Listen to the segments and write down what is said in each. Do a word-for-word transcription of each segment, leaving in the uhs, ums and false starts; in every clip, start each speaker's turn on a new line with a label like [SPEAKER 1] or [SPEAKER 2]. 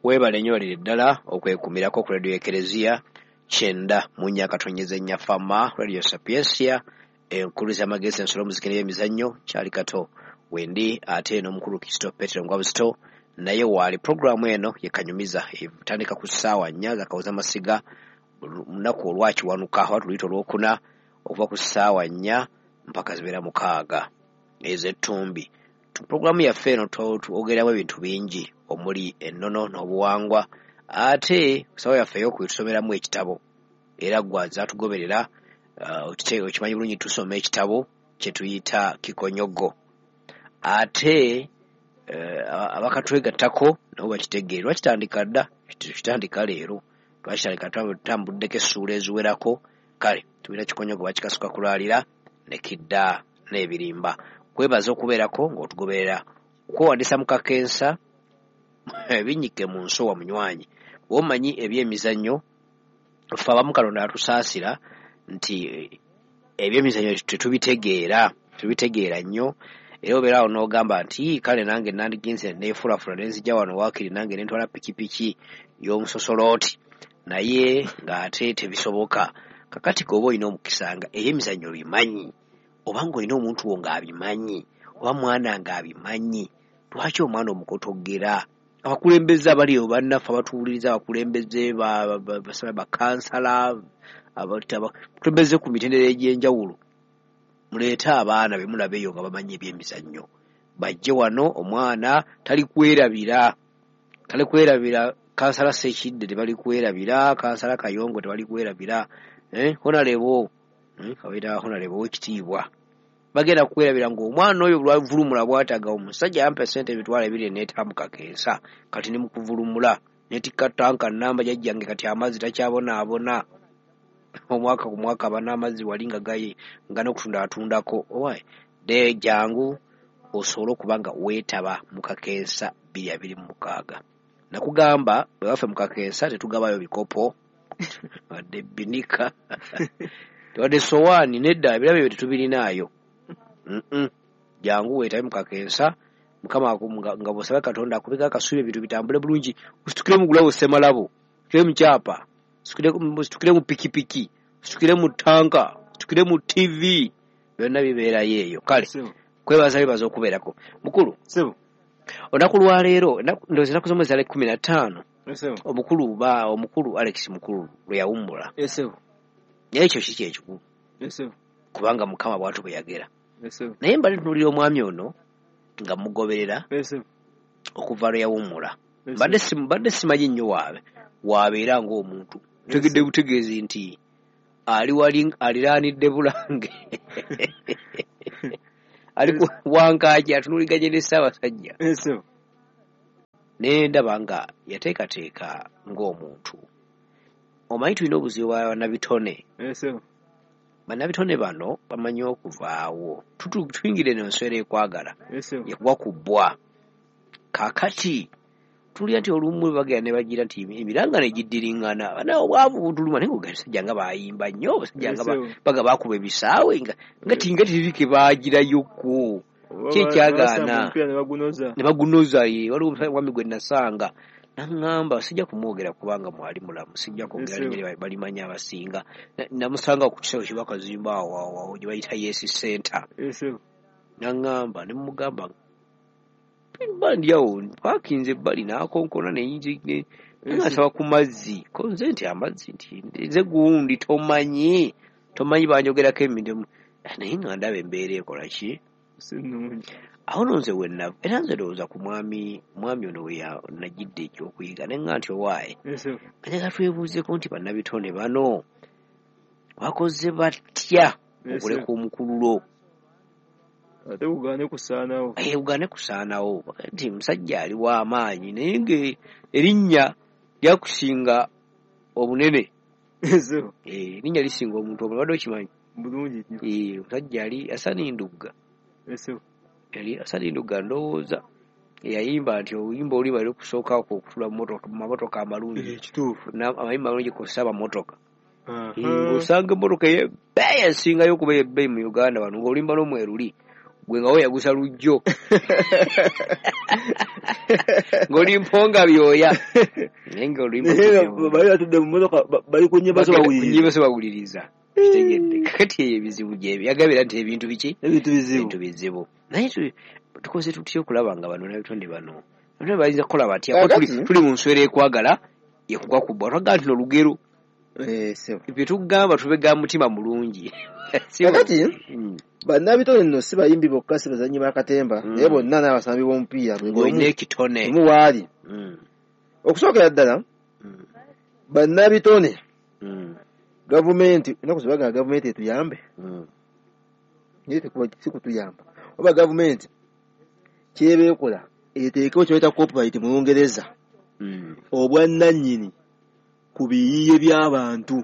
[SPEAKER 1] Weebale nnyo walire ddala okwekumirako ku Radio Ekereziya kyenda mu nnya akatonyeza ennya Fama Radio Sapiensia, enkulu z'amagezi, ensolo, omuziki n'ebyemizannyo. Kyali kato wendi ate n'omukulu Kristo Petero Ngwabuzito naye waali. Puroguramu eno ye Kanyumiza, etandika ku ssaawa nnya zakawuza masiga lunaku olwakiwanuka oba tuluyita olwokuna, okuva ku ssaawa nnya mpaka zibeera mukaaga ez'ettumbi. Puroguramu yaffe eno twogeramu ebintu bingi omuli ennono n'obuwangwa, ate ssaawa yaffe ey'okubiri tusomeramu ekitabo, era gwe zaatugoberera okimanyi bulungi tusoma ekitabo kye tuyita Kikonyogo. Ate abakatwegattako nabo bakitegeere, lwakitandika dda, kitandika leero, twakitandika tutambuddeko essuula eziwerako. Kale tulina Kikonyogo bakikasuka kulwalira ne kidda n'ebirimba. Kwebaza okubeerako ng'otugoberera, okwewandiisa mu kakensa binnyike mu nsowa munywanyi. Bw'omanyi ebyemizannyo, ffe abamu Katonda atusaasira nti ebyemizannyo tetubitegeera, tubitegeera nnyo, era obeera awo n'ogamba nti kale nange nandigenze neefulafula ne nzija wano waakiri nange ne ntwala pikipiki y'omusosolooti, naye ng'ate tebisoboka. Kakati gwe oba olina omukisa nga ebyemizannyo obimanyi, oba ng'olina omuntu wo ng'abimanyi, oba mwana ng'abimanyi, lwaki omwana omukotogera? Abakulembeze abali eyo bannaffe abatuwuliriza, abakulembeze bakansala, abakulembeze ku mitendera egy'enjawulo, muleete abaana be mulaba eyo nga bamanyi ebyemizannyo, bajje wano. Omwana talikwerabira, talikwerabira kansala Ssekidde tebalikwerabira, kansala Kayongo tebalikwerabira, eh, Honorable, abayita Honorable ow'ekitiibwa bagenda kukwerabira ng'omwana oyo lwavulumula bw'ataga omusajja yampa essente emitwalo ebiri neetambuka kensa, kati ne mukuvulumula netikka tanka nnamba jjajjange kati amazzi takyabonaabona, omwaka ku mwaka aba n'amazzi wali nga gaye nga n'okutunda atundako. Owaye de jangu osobole okuba nga weetaba mu kakensa bbiri abiri mu mukaaga. Nakugamba bwe baffe mu kakensa tetugabayo bikopo wadde binika wadde sowaani, nedda, ebirabo ebyo tetubirinaayo. Jangu weetabe mu kakensa, Mukama nga bw'osaba Katonda akubeko akasuubi ebintu bitambule bulungi, ositukire mu gulawo ssemalabo, ositukire mu kyapa, ositukire mu pikipiki, ositukire mu ttanka, ositukire mu T V, byonna bibeerayo eyo. Kale kwebaza bebaza okubeerako. Mukulu, olunaku lwaleero ndowooza ennaku z'omwezi ali kkumi na ttaano, omukulu ba omukulu Alex Mukulu lwe yawummula. Naye ekyo si kyekikulu, kubanga Mukama bw'atyo bwe yagera. Naye mbadde ntunuulira omwami ono nga mugoberera okuva lwe yawummula, mbadde simanyi nnyo waabe waabeera ng'omuntu, ntegedde butegeezi nti ali wali aliraanidde Bulange, ali ku Wankaaki atunuuliganye ne Ssaabasajja. Ne ndaba nga yateekateeka ng'omuntu. Omanyi tulina obuzibu bwa bannabitone. Bannabitone bano bamanyi okuvaawo. Tuyingire eno enswera ekwagala ekuwa ku bbwa. Kaakati tulya nti olumu bagenda ne bagira nti emiranga ne giddiriŋŋana, bana obwavu butuluma, naye ng'abasajja nga bayimba nnyo, abasajja nga baga baakuba ebisaawe nga nga tinga tirike baagirayokko. Kyekyagaana ne bagunoza. Ye waliwo omwami gwe nasanga naŋŋamba sijja kumwogera kubanga mwali mulamu, sijja kwogera linnya balimanya abasinga. Namusanga ku kisaawe kye bakazimba awo awo gye bayita Yes Center. Naŋŋamba ne mugamba mba ndi awo paakinze ebbali n'akonkona ne nasaba ku mazzi, ko nze nti amazzi nti nze gundi tomanyi tomanyi banjogerako emirimu, naye nga ndaba embeera ekola ki awo nno nze wenna. Era nze ndowooza ku mwami mwami ono we najjidde ekyokuyiga ne ŋŋamba nti owaaye njagala twebuuzeeko nti bannabitone bano bakoze batya okuleka omukululo
[SPEAKER 2] ate bugaane kusaanawo.
[SPEAKER 1] Eh, bugaane kusaanawo nti musajja ali w'amaanyi naye ng'erinnya lyakusinga obunene. Eh, erinnya lisinga omuntu obunene, obadde okimanyi
[SPEAKER 2] bulungi nnyo.
[SPEAKER 1] Eh, omusajja ali Hassan Ndugga. Yali Hassan Ndugga ndowooza eyayimba nti oluyimba oluyimba luli kusooka okutula mu mamotoka amalungi, amayimba amalungi kw'ossa amamotoka. Ng'osanga emmotoka ey'ebbeeyi esingayo okuba ey'ebbeeyi mu Uganda wano ng'oluyimba lw'omwe luli Gwe nga weeyagusa lujjo. Ng'oli mponga byoya. Naye ng'oluyimba
[SPEAKER 2] bali batudde mu mmotoka bali ku nnyimba zo bawuliriza.
[SPEAKER 1] Ku nnyimba zo bawuliriza. Kitegedde. Kakati eyo ebizibu gyebyo. Yagambira nti ebintu biki?
[SPEAKER 2] Ebintu bizibu.
[SPEAKER 1] Ebintu bizibu. Naye tukoze tutya okulaba nga bano n'ebitonde bano. Bano bayinza kukola batya? Tuli mu nswera ekwagala ekugwa ku bbwa. Twagala nti olugero.
[SPEAKER 2] Eh, sebo.
[SPEAKER 1] Bye tugamba tubega mutima mulungi.
[SPEAKER 2] Kakati bannabitone nno si bayimbi bokka, si bazannyi ba katemba, naye bonna n'abasambi b'omupiira
[SPEAKER 1] olina ekitone
[SPEAKER 2] omu waali. Okusookera ddala bannabitone gavumenti ennaku zibagamba gavumenti etuyambe, naye si kutuyamba, oba gavumenti kyeba ekola eteekewo kye bayita copyright mu Lungereza, obwannannyini ku biyiiye by'abantu.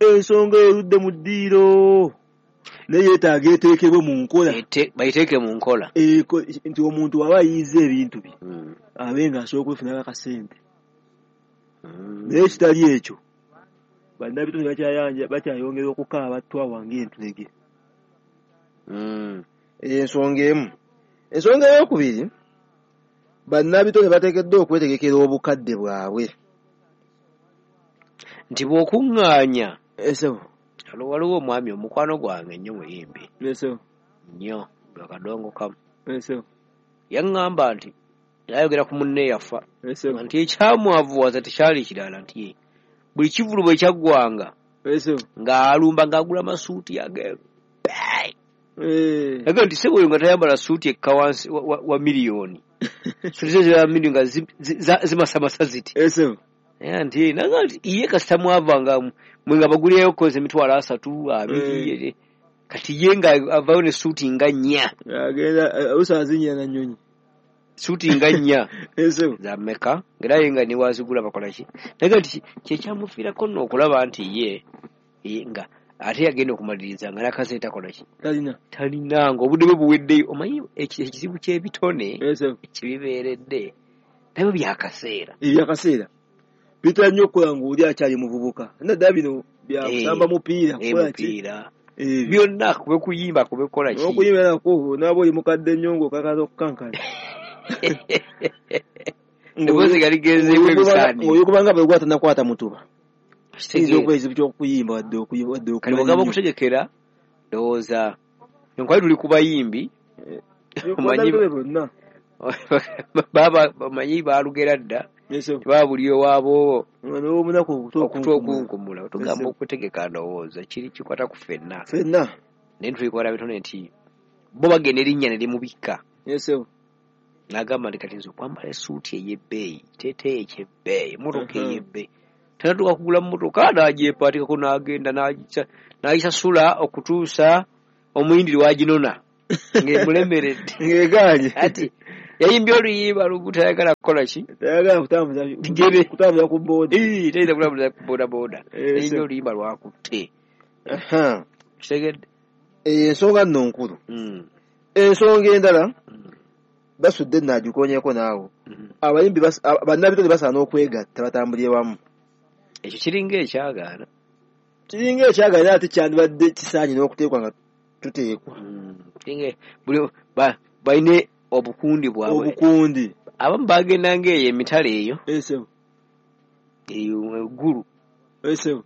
[SPEAKER 2] Ensonga erudde mu ddiiro naye yeetaaga eteekebwe mu nkola,
[SPEAKER 1] bayiteeke mu nkola
[SPEAKER 2] nti omuntu aba ayiiza ebintu bye abe ng'asobola okwefunako akasente. Naye ekitali ekyo bannabitone bakyayanja bakyayongera okukaaba twawange entulege. Ensonga emu. Ensonga ey'okubiri, bannabitone bateekeddwa okwetegekera obukadde bwabwe
[SPEAKER 1] nti bw'okuŋŋaanya.
[SPEAKER 2] Esebo.
[SPEAKER 1] Waliwo omwami omukwano gwange nnyo muyimbi.
[SPEAKER 2] Esebo.
[SPEAKER 1] Nnyo akadongo kamu.
[SPEAKER 2] Esebo.
[SPEAKER 1] Yaŋŋamba nti yayogera ku munne yafa.
[SPEAKER 2] Esebo.
[SPEAKER 1] Nti ekyamwavuwaza tekyali kirala, nti buli kivvulu bwe kyaggwanga
[SPEAKER 2] Esebo.
[SPEAKER 1] ng'alumba ng'agula masuuti ag'ebbeeyi.
[SPEAKER 2] Eh.
[SPEAKER 1] Yagamba nti ssebo oyo nga tayambala suuti ekka wansi wa, wa, wa miliyoni. Suuti ze za miliyoni nga zimasamasa ziti.
[SPEAKER 2] Esebo.
[SPEAKER 1] Nti nanga nti ye kasita mwavanga mwe nga bagulirayo koze emitwalo asatu abiri, kati ye nga avaayo ne suuti nga nnya.
[SPEAKER 2] Agenda oluusi na nnyonyi.
[SPEAKER 1] Suuti nga nnya.
[SPEAKER 2] Esebo.
[SPEAKER 1] Za mmeka? Ng'era ye nga ne wazigula bakola ki? Naye nti kye kyamufiirako nno okulaba nti ye nga ate yagenda okumaliriza nga n'akasente takola ki?
[SPEAKER 2] Talina.
[SPEAKER 1] Talina, ng'obudde bwe buweddeyo. Omanyi ekizibu ky'ebitone kibibeeredde nabyo byakaseera.
[SPEAKER 2] Ebyakaseera. Bitera nnyo okukola ng'oli akyali muvubuka. Naddala bino bya kusamba mupiira, kukola ki?
[SPEAKER 1] Byonna kube kuyimba, kube kukola ki?
[SPEAKER 2] Okuyimba nakwo n'aba oli mukadde nnyo ng'okakasa okukankana.
[SPEAKER 1] Eddoboozi nga ligenzeemu ebisaaniro.
[SPEAKER 2] Oyo kubanga bwe gwata nakwata mutuba. Kiyinza okuba ekizibu ky'okuyimba wadde okuyimba wadde
[SPEAKER 1] Kati bw'ogamba okutegekera, ndowooza enkwali tuli ku bayimbi.
[SPEAKER 2] Omanyi bonna.
[SPEAKER 1] Baba bamanyi baalugera dda. Baba buli owaabo
[SPEAKER 2] okuta
[SPEAKER 1] okunkumula. Tugamba okutegeka ndowooza kiri kikwata ku ffenna.
[SPEAKER 2] Ffenna.
[SPEAKER 1] Naye tulikola bitone nti bo bagenda erinnya ne limubikka.
[SPEAKER 2] Esebo.
[SPEAKER 1] N'agamba nti kati nze okwambala essuuti ey'ebbeeyi, kiteeteeyi eky'ebbeeyi, emmotoka ey'ebbeeyi. Tanatuuka kugula mmotoka n'agyepaatikako n'agenda n'agisasula okutuusa omuyindi lw'aginona ng'emulemeredde.
[SPEAKER 2] Ng'egaanye.
[SPEAKER 1] Ati yayimbye oluyimba lugu tayagala kukola ki?
[SPEAKER 2] Tayagala kutambuza
[SPEAKER 1] bigere.
[SPEAKER 2] Kutambuza ku booda.
[SPEAKER 1] Ee, tayinza kutambuza ku booda booda. Yayimbye oluyimba lwakutte.
[SPEAKER 2] Aha.
[SPEAKER 1] Kitegedde.
[SPEAKER 2] Ensonga nno nkulu. Ensonga endala basudde nno agikoonyeeko naawe. Abayimbi bannabitone basaana okwegatta batambulire wamu.
[SPEAKER 1] Ekyo kiringa ekyagaana.
[SPEAKER 2] Kiringa ekyagaana ate kyandibadde kisaanye n'okuteekwa nga tuteekwa.
[SPEAKER 1] Kiringa buli balina obukundi bwabwe.
[SPEAKER 2] Obukundi.
[SPEAKER 1] Abamu bagendanga eyo emitala eyo.
[SPEAKER 2] Esebo.
[SPEAKER 1] Eyo eggulu.
[SPEAKER 2] Esebo.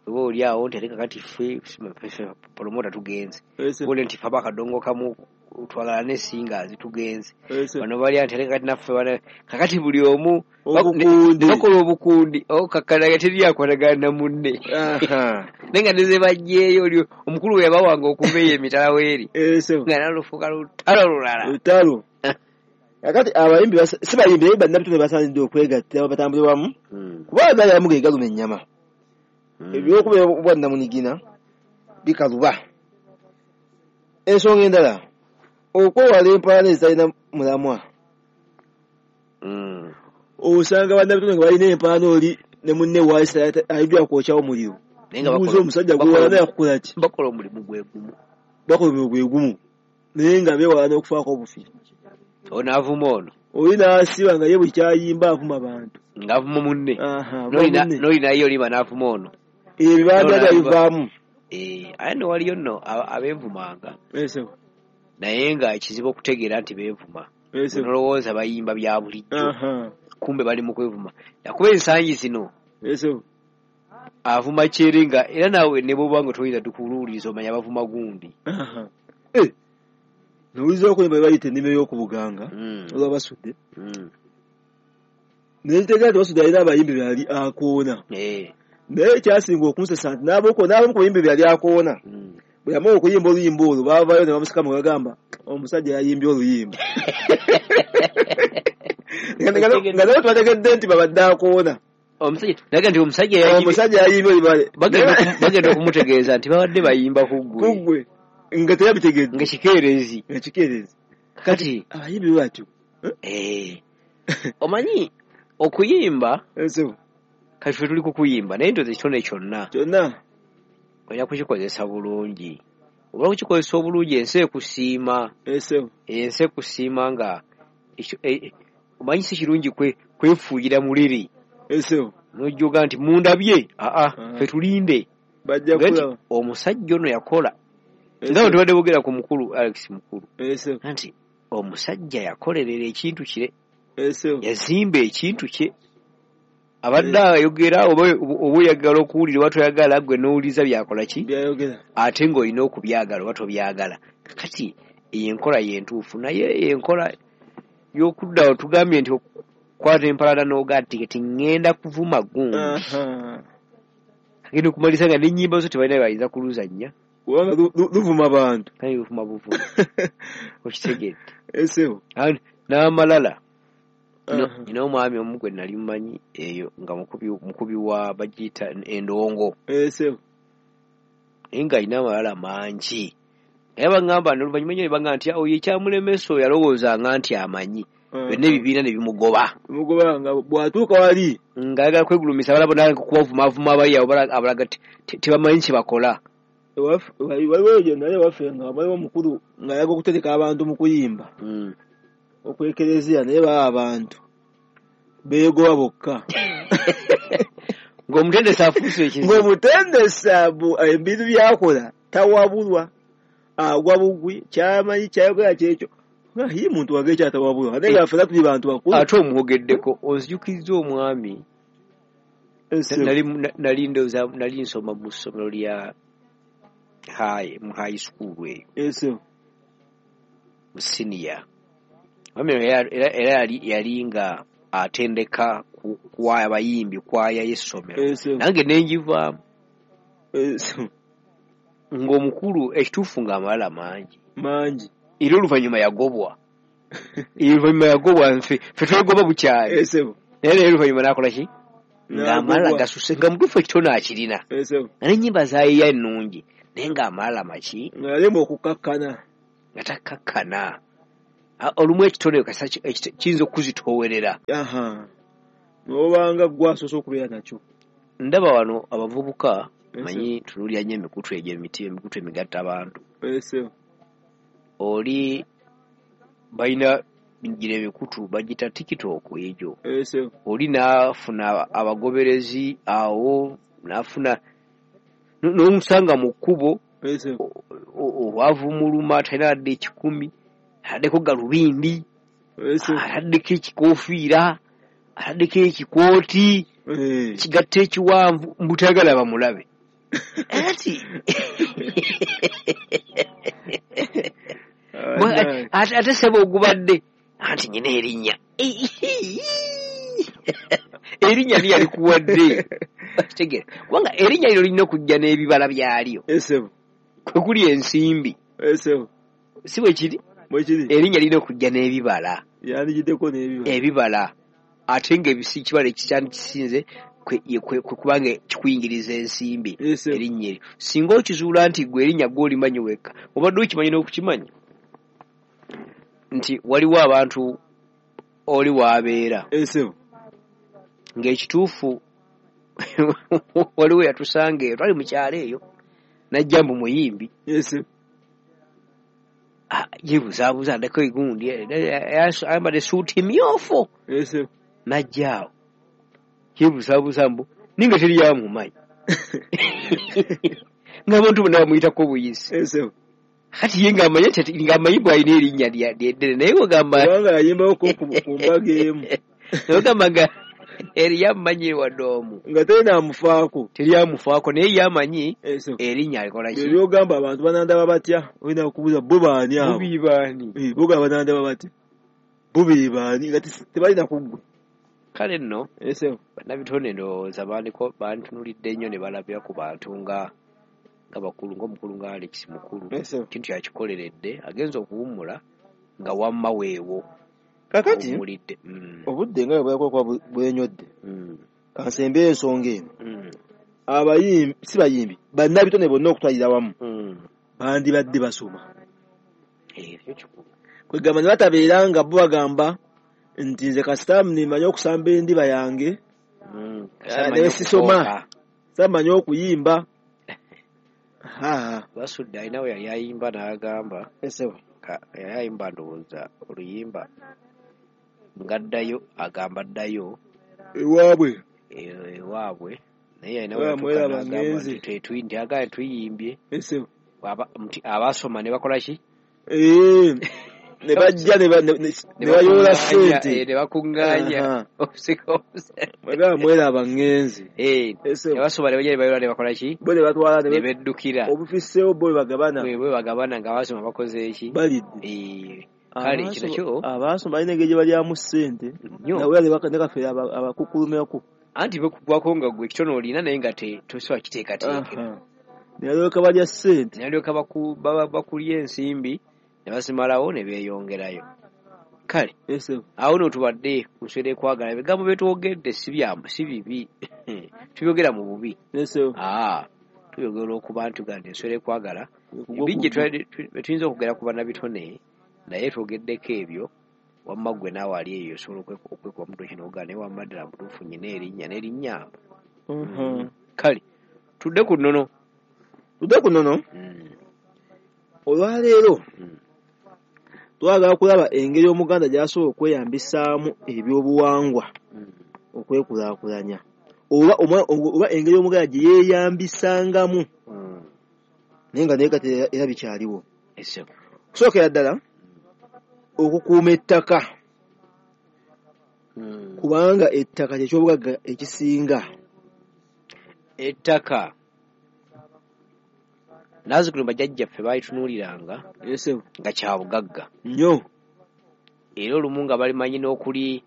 [SPEAKER 1] Oba oli awo nti ate kakati ffe promota tugenze.
[SPEAKER 2] Esebo.
[SPEAKER 1] Oli nti ffe abakadongo kamu twagala ne singers tugenze.
[SPEAKER 2] Esebo.
[SPEAKER 1] Bano bali nti ate kakati naffe kakati buli omu
[SPEAKER 2] obukundi.
[SPEAKER 1] Bakola obukundi. Okakkana teri akwatagana na munne. Naye nga ne ze baggyeyo oli omukulu we yabawanga okuva eyo emitala weeri.
[SPEAKER 2] Esebo.
[SPEAKER 1] Nga nalufuuka lutalo lulala.
[SPEAKER 2] Lutalo. Kakati abayimbi si bayimbi naye bannabitone basaanidde okwegatta batambule wamu. Kuba agaali abamu ge galuma ennyama. Ebyokubeera obwannamunigina bikaluba. Ensonga endala, okwewala empalana ezitalina mulamwa. Osanga bannabitone nga balina empalana oli ne munne waasi ayijja kwokyawo omuliro. Buuza omusajja gwewalana yakukola ki?
[SPEAKER 1] Bakola omulimu gwe gumu.
[SPEAKER 2] Bakola omulimu gwe gumu. Naye nga beewala n'okufaako obufi.
[SPEAKER 1] Ono avuma ono.
[SPEAKER 2] Oli n'asiba nga ye buli kyayimba avuma bantu.
[SPEAKER 1] Ng'avuma munne. N'oli naye olima n'avuma ono.
[SPEAKER 2] Ebibanda byabivaamu.
[SPEAKER 1] Eh, aye nno waliyo nno abeevumanga.
[SPEAKER 2] Esebo.
[SPEAKER 1] Naye nga kizibu okutegeera nti beevuma. Nolowooza bayimba bya bulijjo, kumbe bali mu kwevuma. Yakuba ensangi zino avuma kyere nga era naawe ne bw'oba nga toyinza tukuluwuliriza omanya bavuma gundi.
[SPEAKER 2] Nowuliriza okuyimba bayita ennimi y'okubuganga olwa Basudde. Naye ntegeera nti Basudde alina abayimbi be yali akoona. Naye ekyasinga okunsesa nti n'abamu ku bayimbi be yali akoona bwe yamala okuyimba oluyimba olwo baavaayo ne bamusikamu ne bagamba omusajja yayimbye oluyimba. Nga nabo tubategedde nti babadde akoona.
[SPEAKER 1] Omusajja nti omusajja
[SPEAKER 2] yayimbye oluyimba.
[SPEAKER 1] Bagenda okumutegeeza nti babadde bayimba ku ggwe.
[SPEAKER 2] Ku ggwe. Nga teyabitegedde.
[SPEAKER 1] Nga kikeerezi.
[SPEAKER 2] Nga kikeerezi.
[SPEAKER 1] Kati
[SPEAKER 2] abayimbi batyo.
[SPEAKER 1] Eh. Omanyi okuyimba kati ffe tuli ku kuyimba naye ntoze ekitone kyonna.
[SPEAKER 2] Kyonna.
[SPEAKER 1] Olina kukikozesa bulungi. Oba kukikozesa obulungi ensi ekusiima. Ensi ekusiima nga omanyi si kirungi kwefuuyira muliri. N'ojjoga nti mundabye aa ffe tulinde.
[SPEAKER 2] Bajja kulaba.
[SPEAKER 1] Omusajja ono yakola. Nga bwe tubadde boogera ku mukulu Alex Mukulu. Nti omusajja yakolerera ekintu kye. Yazimba ekintu kye. Abadde ayogera oba oyagala okuwulira oba toyagala ggwe n'owuliriza by'akola ki? Ate ng'olina okubyagala oba tobyagala. Kati eyo enkola y'entuufu naye enkola y'okudda tugambye nti okukwata empalana n'ogaa nti kati ŋŋenda kuvuma gundi. Agenda okumaliriza nga n'ennyimba zo tebalina bye bayinza kuluzannya.
[SPEAKER 2] Kubanga luvuma bantu.
[SPEAKER 1] Kale luvuma buvuma. Okitegedde. N'amalala. Nina omwami omu gwe nali mmanyi eyo nga mukubi wa bagiyita endongo. Naye ng'alina amalala mangi. Naye baŋŋamba oluvannyuma nnyo ne baŋŋamba nti oyo ekyamulemesa oyo yalowoozanga nti amanyi. Byonna ebibiina ne bimugoba.
[SPEAKER 2] Bimugoba nga bw'atuuka wali.
[SPEAKER 1] Ng'ayagala kwegulumisa abalala bonna kubavumaavuma abali awo abalaga tebamanyi kye bakola.
[SPEAKER 2] Waliwo gye nali ewaffe nga waliwo omukulu ng'ayagala okutereka abantu mu kuyimba. Okwekereziya naye baba abantu beegoba bokka.
[SPEAKER 1] Ng'omutendesi afuuse ekizibu.
[SPEAKER 2] Ng'omutendesi ebintu by'akola tawabulwa agwa bugwi ky'amanyi ky'ayogera kyekyo. Ye muntu wange ekyatawabulwa ate nga ffenna tuli bantu bakulu.
[SPEAKER 1] Ate omwogeddeko onzijukizza omwami. Nali ndowooza nali nsoma mu ssomero lya high mu high school eyo. Mu senior. Era yali nga atendeka kwaya abayimbi kwaya y'essomero. Nange ne ngivaamu. Ng'omukulu ekituufu ng'amalala mangi.
[SPEAKER 2] Mangi.
[SPEAKER 1] Era oluvannyuma yagobwa. Oluvannyuma yagobwa nfe ffe twegoba bukyali. Naye naye oluvannyuma n'akola ki? Ng'amalala gasuse nga mutuufu ekitone akirina. Nga n'ennyimba zaayiya ennungi naye ng'amalala maki?
[SPEAKER 2] Nga yalema okukakkana.
[SPEAKER 1] Nga takkakkana. Olumu ekitone kiyinza okukuzitoowerera.
[SPEAKER 2] N'obanga ggwe asoose okubeera nakyo.
[SPEAKER 1] Ndaba wano abavubuka manyi tunuulira nnyo emikutu egyo emiti emikutu emigatta abantu. Oli balina gino emikutu bagiyita TikTok egyo. Oli n'afuna abagoberezi awo n'afuna n'omusanga mu kkubo obwavu muluma talina wadde ekikumi. Ataddeko galubindi, ataddeko ekikoofiira, ataddeko ekikooti, kigatta ekiwanvu mbu tayagala bamulabe. Ati ate ssebo ogubadde anti nnyina erinnya. Erinnya li yalikuwadde. Okitegeera? Kubanga erinnya lino lirina okujja n'ebibala byalyo. Kwe kuli ensimbi. Si bwe kiri? Erinnya lirina okujja n'ebibala.
[SPEAKER 2] Yandigiddeko n'ebibala.
[SPEAKER 1] Ebibala. Ate ng'ebisi ekibala ekisinze kwe kubanga kikuyingiriza ensimbi erinnya eryo. Singa okizuula nti ggwe erinnya gw'olimanyi wekka, obadde okimanyi n'okukimanya nti waliwo abantu oli w'abeera. Ng'ekituufu waliwo yatusanga eyo, twali mu kyalo eyo, n'ajja mbu muyimbi. Yeebuzaabuza addeko egundi ayambadde essuuti mmyufu. N'ajja awo yeebuzaabuza mbu ninga teri yamumanyi. Ng'abantu bonna bamuyitako buyisi. Kati ye ng'amanyi ng'amanyi bw'alina erinnya ddene naye wegamba
[SPEAKER 2] kubanga yayimbawo ku mbaga emu
[SPEAKER 1] ogamba nga eriyamumanyi wadde omu
[SPEAKER 2] nga terinamufaako
[SPEAKER 1] teryamufaako naye ye amanyi erinnya alikola ki
[SPEAKER 2] ebyogamba abantu banandaba batya olina okubuuza bo baani abo
[SPEAKER 1] bo baani
[SPEAKER 2] bogamba banandaba batya bo be baani nga tebalina kuggwe.
[SPEAKER 1] Kale nno bannabitone ndowooza bantunulidde nnyo ne balabira ku bantu nga nga bakulu ng'omukulu nga Alex Mukulu kintu yakikoleredde agenza okuwummula nga wamma weewo.
[SPEAKER 2] Kakati obudde nga bwe bwakuba bwenyodde kansembe ensonga eno abayimbi si bayimbi bannabitone bonna okutwalira wamu bandibadde basoma kwegamba ne batabeera nga bo bagamba nti nze kasita nimanye okusamba endiba yange naye sisoma samanyi okuyimba.
[SPEAKER 1] Basudde alina we yali ayimba n'agamba yali ayimba ndowooza oluyimba ngaddayo agamba ddayo
[SPEAKER 2] ewaabwe
[SPEAKER 1] ewaabwe naye alina we agamba tuyimbye abasoma ne bakola ki
[SPEAKER 2] ne bajja ne bayoola ssente
[SPEAKER 1] ne bakuŋŋaanya
[SPEAKER 2] bagamba mweraba ŋŋenze
[SPEAKER 1] ne basoma ne bajja ne bayoola ne bakola ki
[SPEAKER 2] bo ne batwala
[SPEAKER 1] ne beddukira
[SPEAKER 2] obufisseewo bo bwe bagabana
[SPEAKER 1] bwe bagabana nga abasoma bakoze eki
[SPEAKER 2] balidde.
[SPEAKER 1] Kale kino kyo
[SPEAKER 2] abasoma balina engeri gye balyamu ssente nawe ne kafeera abakukkulumyako
[SPEAKER 1] anti bekugwako nga gwe ekitono olina naye nga tosobola kiteekateekera
[SPEAKER 2] ne balyoka balya ssente
[SPEAKER 1] ne balyoka bakulya ensimbi ne basimalawo ne beeyongerayo. Kale awo nno tubadde ku nswera ekwagala ebigambo bye twogedde si si bibi tubyogera mu bubi tubyogera okuba nti tugamba nti enswera ekwagala bingi tuyinza okwogera ku bannabitone naye twogeddeko ebyo wamma ggwe naawe ali eyo osobola okwekuba mutwe kino ogaa naye wamma ddala mutuufu nnyina erinnya n'erinnyamba. Kale tudde ku nnono
[SPEAKER 2] tudde ku nnono olwaleero twagala kulaba engeri Omuganda gy'asobola okweyambisaamu ebyobuwangwa okwekulaakulanya oba oba engeri Omuganda gye yeeyambisangamu naye nga naye kati era bikyaliwo. Okusookera ddala okukuuma ettaka kubanga ettaka kye kyobugagga ekisinga.
[SPEAKER 1] Ettaka nazzikuno bajjajjaffe baalitunuuliranga nga kya bugagga
[SPEAKER 2] nnyo
[SPEAKER 1] era olumu nga balimanyi n'okuli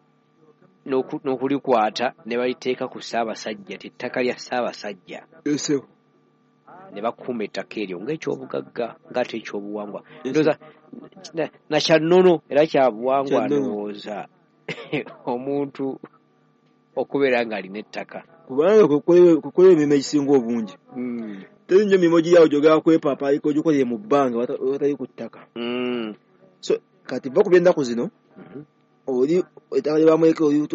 [SPEAKER 1] n'okulikwata ne baliteeka ku Ssaabasajja ti ettaka lya Ssaabasajja ne bakuuma ettaka eryo ng'ekyobugagga ng'ate ekyobuwangwa ndowooza na kya nnono era kya buwangwa ndowooza omuntu okubeera ng'alina ettaka
[SPEAKER 2] kubanga kukola emirimu egisinga obungi. Teri nnyo mirimu giri awo gy'ogenda kwepaapaayika ogikolere mu bbanga watali ku ttaka. So kati va ku by'ennaku zino oli ettaka lye bamuleka oli